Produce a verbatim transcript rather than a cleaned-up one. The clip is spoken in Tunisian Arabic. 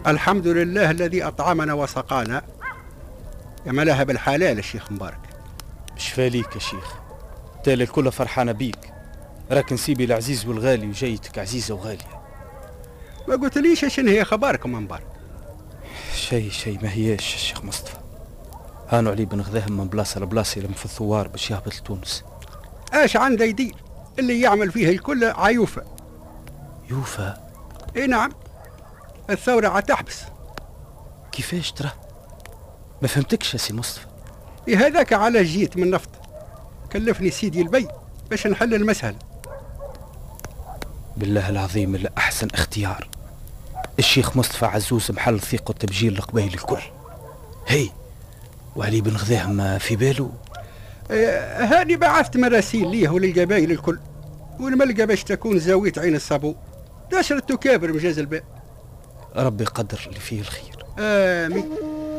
الحمد لله الذي أطعمنا وسقانا. يا بالحلال الشيخ مبارك. شفاليك يا شيخ، تالي الكل فرحانة بيك، راك نسيبي العزيز والغالي وجايتك عزيزة وغالية. ما قلتليش شنو هي خباركم مبارك؟ شيء شيء ما هياش الشيخ مصطفى. هانو علي بن غذاهم من بلاصة لبلاصة يلم في الثوار باش يهبط لتونس. اش عنده يدير؟ اللي يعمل فيه الكل عيوفة. يوفا؟ اي نعم، الثورة عتحبس. كيفاش ترى؟ ما فهمتكش يا سي مصطفى. إيه هذاك على جيت من نفط، كلفني سيدي البي باش نحل المسألة. بالله العظيم اللي أحسن اختيار الشيخ مصطفى عزوز، محل ثقة تبجيل القبائل الكل. هي وعلي بن غذاهم في باله؟ إيه هاني بعثت مراسيل ليه وللقبائل الكل، والملقى باش تكون زاوية عين الصابو داشرة تكابر مجاز الباء. ربي يقدر اللي فيه الخير. آمين.